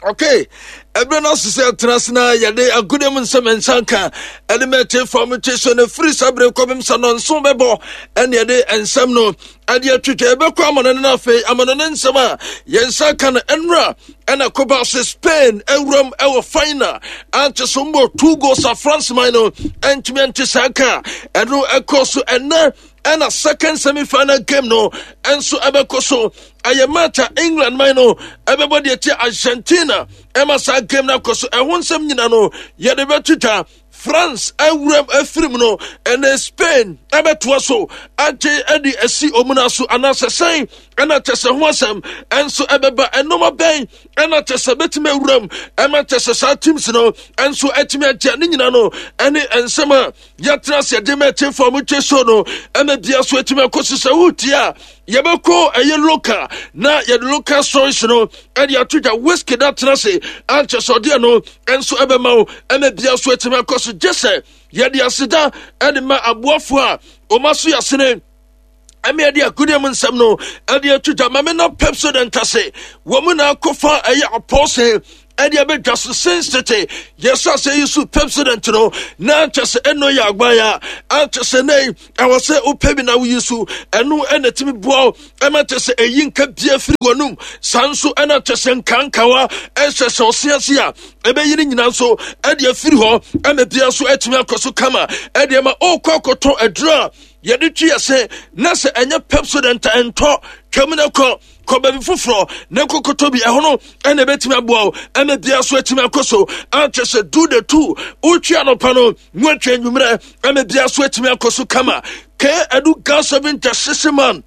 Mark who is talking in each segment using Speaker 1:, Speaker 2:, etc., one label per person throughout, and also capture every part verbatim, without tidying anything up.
Speaker 1: Okay, ɛberɛ no aso sɛ ɛtena ase na yɛde agodie mu nsɛm nsa nka ɛde mɛte fam te so no firi saa berɛ kɔpem sɛ nɔnso bɛbɔ ɛne yɛde nsɛm no ɛde atwitwa. Yɛbɛkɔ amano no afei amano no nsɛm a yɛn nsa ka no ɛnora ɛna kɔba sɛ Spain awuram ɛwɔ final ankyɛ so mbɔ two goals a France man no ɛntumi ɛnte saa ka. Ɛno ɛkɔ so ɛnɛ, ɛna second semi final game no ɛnso ɛbɛkɔ so. Ɛyɛ match a England man no ɛbɛbɔ deɛ kyɛ Argentina. Ɛma saa game no akɔ so, ɛho nsɛm nyina no yɛde bɛtwitwa. France awuram afirim no, ɛnɛ Spain ɛbɛtoa so agye ɛde asi omuna so anaasɛ sɛn? Ɛna kyɛ sɛ ho asɛm ɛnso ɛbɛba. Ɛnoma bɛn ɛna kyɛ sɛ bɛtumi awuram ɛma kyɛ sɛ saa teams no ɛnso ɛtumi agye ne nyina no, ɛne nsɛm a yɛtena ase ɛde ma ɛkyɛmfo a motwe so no ɛma bia so atumi akɔ so. Sɛ wotie a, yɛbɛkɔ ɛyɛ local na yɛde local stories no ɛde ato dwa. Whisky da tena ase ankyɛ sɛ ɔdeɛ no ɛnso ɛbɛma wo ɛma bia so atumi akɔ so. Gye sɛ yɛde aseda ɛde ma aboafoɔ a ɔma so yɛasene ɛmi ɛde agodie mu nsɛm no ɛde ato dwa. Maame na Pepsodent ase wɔn mu na akɔfa ɛyɛ apɔse ɛde abɛdwa so since tete yɛsɛ sɛ yi so Pepsodent no na kyɛ sɛ ɛno yɛ agban a ankyɛ sɛ nɛ ɛwɔ sɛ wopɛ bi na woyi so. Ɛno ɛna tumi boa wo ɛma kyɛ sɛ ɛyi nka bia firi w'anum. Saa nso ɛna kyɛ sɛ nkankawa ɛhyɛ sɛ ɔse ase a ɛbɛyi no nyinaa nso ɛde afiri hɔ ɛma bia so atumi akɔ so kama. Ɛde ɛma ɔrekɔ akɔtɔ aduro a yɛde twi yɛ na sɛ ɛnyɛ Pepsodent a, ɛntɔ twam no kɔ kɔ baabi foforɔ na nkɔkɔtɔ bi. Ɛho no ɛna ɛbɛtumi aboa wo ɛma bia so atumi akɔ so. Ankyɛ sɛ do the two wotwi anɔpa no na watwi anwummerɛ ɛma bia so atumi akɔ so kama. Ke ɛdu gas oven gyasese man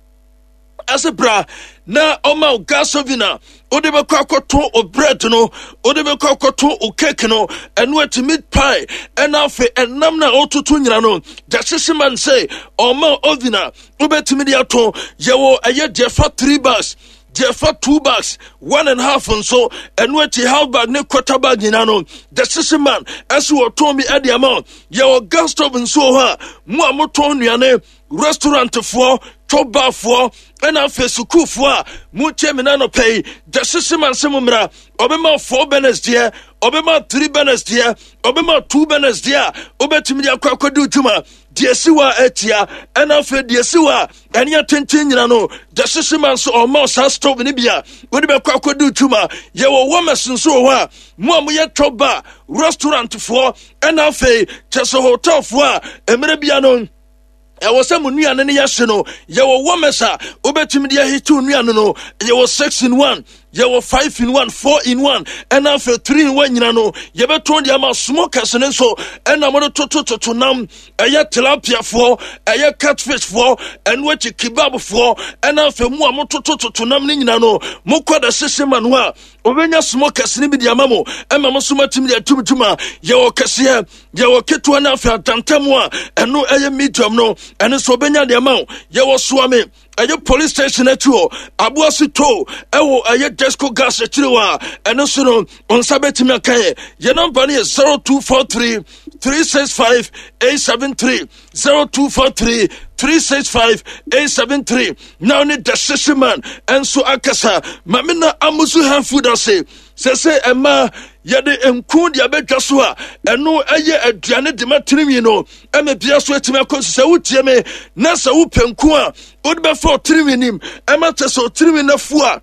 Speaker 1: ɛsɛ bra na ɔma wo gas oven a wode bɛkɔ akɔto o bread no, wode bɛkɔ akɔto o cake no, ɛno akyi meat pie, ɛna afei ɛnam no a wototo nyina no. Gyasese man sɛ ɔma oven a wobɛtumi de ato. Yɛwɔ ɛyɛ deɛ fa three bags, deɛ fa two bags, one and half nso, ɛno akyi half bag ne quarter bag nyinaa no, gyasese man ɛso wɔtɔn bi ɛde ama wo. Yɛwɔ gas stove nso wɔ hɔ a mo a motɔn nnuane, restaurantfoɔ, chɔbafoɔ, ɛna afei sukuufoɔ a motie me nanɔpɛ yi, gyasese man sɛ mo mmra. Ɔbɛma four burners deɛ, ɔbɛma three burners deɛ, ɔbɛma two burners deɛ a wobɛtumi de akɔ akɔdi dwuma. Deɛ si hɔ a atia, ɛna afei deɛ si hɔ a ɛne atenten nyina no, gyasese man nso ɔma saa stove no bi a wode bɛkɔ akɔdi dwuma. Yɛwɔ warmers nso wɔ hɔ a mo a moyɛ chɔba, restaurantfoɔ, ɛna afei kyɛ sɛ hotelfoɔ a mmerɛ bia no ɛwɔ sɛ mo nnuane no yɛhye no, yɛwɔ warmers a wobɛtumi de ahyew nnuane no. Yɛwɔ six in one, yɛwɔ five in one, four in one, ɛna afei three in one nyina no yɛbɛtɔn de ama. Smokers no nso ɛna mode totototo nam, ɛyɛ tilapiafoɔ, ɛyɛ catfishfoɔ, ɛno akyi kebabfoɔ, ɛna afei mu a mototototo nam no nyina no, mokɔ da hyehye ma no a obɛnya smokers no bi de ama mo ɛma mo so matumi de atum dwuma. Yɛwɔ kɛseɛ, yɛwɔ ketewa no, afei adantam a ɛno ɛyɛ medium no, ɛno nso obɛnya de ama wo. Yɛwɔ Soame, ɛyɛ police station akyi hɔ, Aboase to ɛwɔ ɛyɛ Desco Gas akyiri hɔ a ɛno nso no nsa bɛtumi aka yɛ. Yɛ number no yɛ zero two four three three six five eight seven three, zero two four three three six five eight seven three. Na ne the hyehye man ɛnso akasa. Maame na Amusu hand food ase sɛ sɛ ɛma yɛde nku de abɛdwa so a ɛno ɛyɛ aduane de ma tirinwi no ɛma bia so atumi akɔ so. Sɛ wotie me na sɛ wopɛ nku a wode bɛfa ɔtirinwi nim ɛma kyɛ sɛ ɔtirinwi no afu a,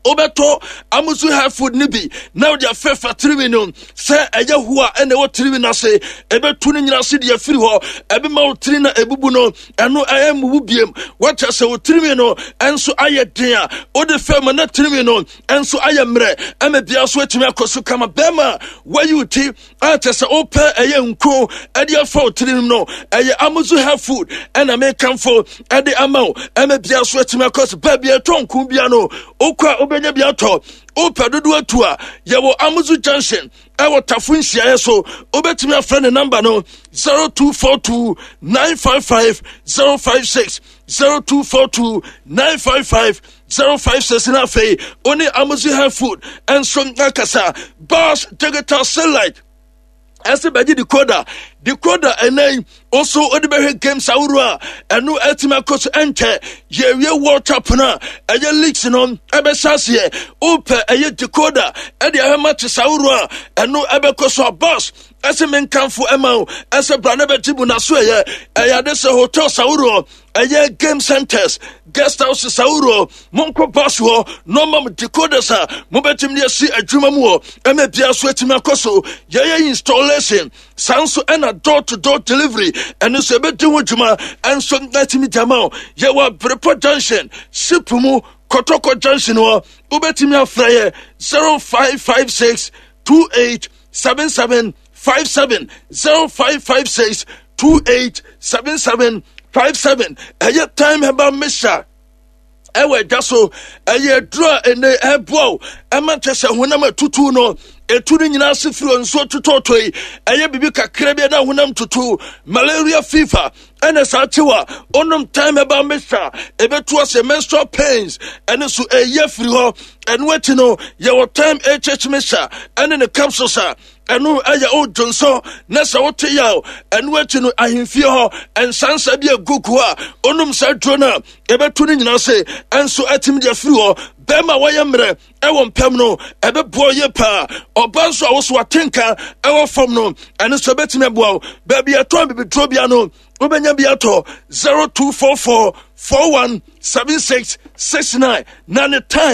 Speaker 1: wobɛtɔ Amusu hair food no bi na wode afɛfa tirinwi no sɛ ɛyɛ ho a ɛna ɛwɔ tirinwi no ase, ɛbɛtu no nyina ase de afiri hɔ. Ɛbɛma wo tiri no ɛbubu no ɛno ɛyɛ mmubu biem. Wakyɛ sɛ wo tirinwi no ɛnso ayɛ den a wode fɛ ma na tirinwi no ɛnso ayɛ mmerɛ ɛma bia so atumi akɔ so kama. Bɛrima wayi wo ti a kyɛ sɛ wopɛ ɛyɛ nko ɛde afa wo tirim no, ɛyɛ Amusu hair food ɛna mekamfo ɛde ama wo ɛma bia so atumi akɔ so. Baabi ɛtɔ nko bia no wokɔ a wobɛnya bi atɔ. Wopɛ dodoɔ atu a, yɛwɔ Amusu Junction ɛwɔ Tafo nhyiaeɛ so. Wobɛtumi afrɛ ne number no zero two four two nine five five zero five six, zero two four two nine five five zero five six. Na afei wo ne Amusu hair food ɛnso akasa. Bas Digital Satellite Ɛsɛ bɛgye decoder. Decoder ɛnɛ yi nso wode bɛhwɛ games ahoroɔ a ɛno atumi akɔ so. Ɛnkyɛ yɛwie World Cup no a, ɛyɛ leagues no ɛbɛhyɛ aseɛ. Wopɛ ɛyɛ decoder ɛde ahwɛ matches ahoroɔ a ɛno ɛbɛkɔ so a, boss ɛsɛ menkamfo ɛma wo ɛsɛ bra ne bɛgye mu. Naso ɛyɛ ɛyɛ ade sɛ hotels ahoroɔ, ɛyɛ game centers, guest houses ahoroɔ, monkɔ bus hɔ na ɔma mo decoders a mobɛtumi de asi adwuma mu hɔ ɛma bia so atumi akɔ so. Yɛyɛ installation saa nso, ɛna door to door delivery ɛno nso ɛbɛdi ho dwuma ɛnso atumi gyama wo. Yɛwɔ Abrepɔ Junction, ship mu, Kɔtɔkɔ Junction hɔ. Wobɛtumi afrɛ yɛ zero five five six two eight seven seven five seven, zero five five six two eight seven seven five seven. Ɛyɛ Time Herbal Mixture ɛwɔ adwa so. Ɛyɛ aduro a ɛnɛ ɛboa wo ɛma kyɛ sɛ honam atutu no ɛtu no nyinaa ase firi nsuo totɔtɔ yi. Ɛyɛ biribi kakra bi na honam tutu, malaria fever ɛna saa kyew a, onom Time Herbal Mixture, ɛbɛtu ase. Menstrual pains ɛne so ɛyɛ firi hɔ. Ɛno akyi no, yɛwɔ Time H H Mixture ɛne ne capsules a ɛno ɛyɛ odwonso na sɛ wote yaw. Ɛno akyi no, ahemfie hɔ nsansa bi agugu a, onom saa duro no a, ɛbɛtu no nyinaa se ɛnso atumi de afiri hɔ. Bɛrima a wɔyɛ mmerɛ ɛwɔ mpɛm no, ɛbɛboa yie paa. Ɔba nso a woso atenka ɛwɔ fam no, ɛno nso ɛbɛtumi aboa wo. Baabi ɛtɔn bibiduro bia no, wobɛnya bi atɔ. zero two four four four one seven six six nine na ne time.